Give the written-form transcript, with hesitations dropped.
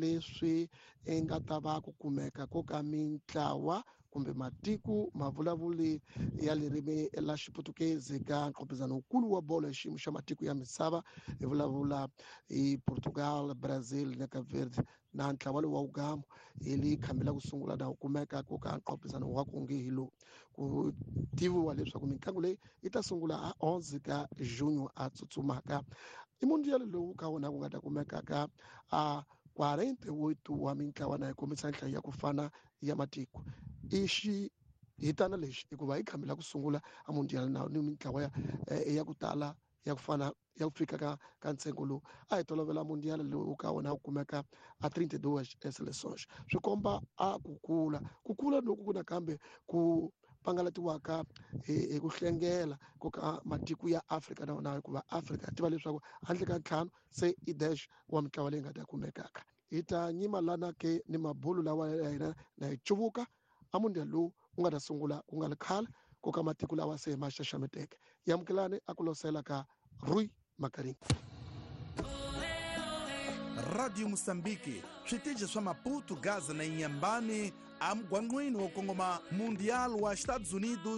Leswi i nga ta va ku kumeka ko ka mintlawa kumbe matiko mavulavuli ya ririmi la Xiputukezi ka nqopizano wukulu wa bolo ya xiyimo xa matiko ya misava. Hi vulavula hi Portugal, Brazil na Cape Verde na ntlawa lowu wa wugamu hi li khambi la ku sungula na wu kumeka ku ka nqopizano wa ku nge hi lowu. Ku tiviwa leswaku mitlangu leyi yi ta sungula a 11 ka junho a tsutsumaka. I mundial lowu ka wona ku nga ta kumeka ka a 48 wa mintlawa na yi kombisa nhlayo ya ku fana ya matiko. I xi hitana lexi hikuva hi khambi la ku sungula a mundial na ni mintlawa ya ku tala ya ku fana ya ku fika ka ntsengo lowu a hi tolovela. Mundial lowu ka wona wu kumeka a 32 seleções swi komba a ku kula loku ku nakambe ku pangalatiwaka hi ku hlengela ku ka matiko ya Afrika na wona, hikuva Afrika tiva leswaku handle ka ntlhanu se i dash wa mitlawa leyi nga ta kumekaka. Hi ta nyima lana ke ni mabulu lawa ya hina na hi cuvuka a mundial lowu wu nga ta sungula ku nga ri khale ku ka matiko lawa se ma xaxameteke. Yamukelani a ku losela ka Rui Makarini. Radio Moçambique, switichi swa Maputo, Gaza na Inhambane, amugwangqwini wo kongoma Mundial wa Estados Unidos.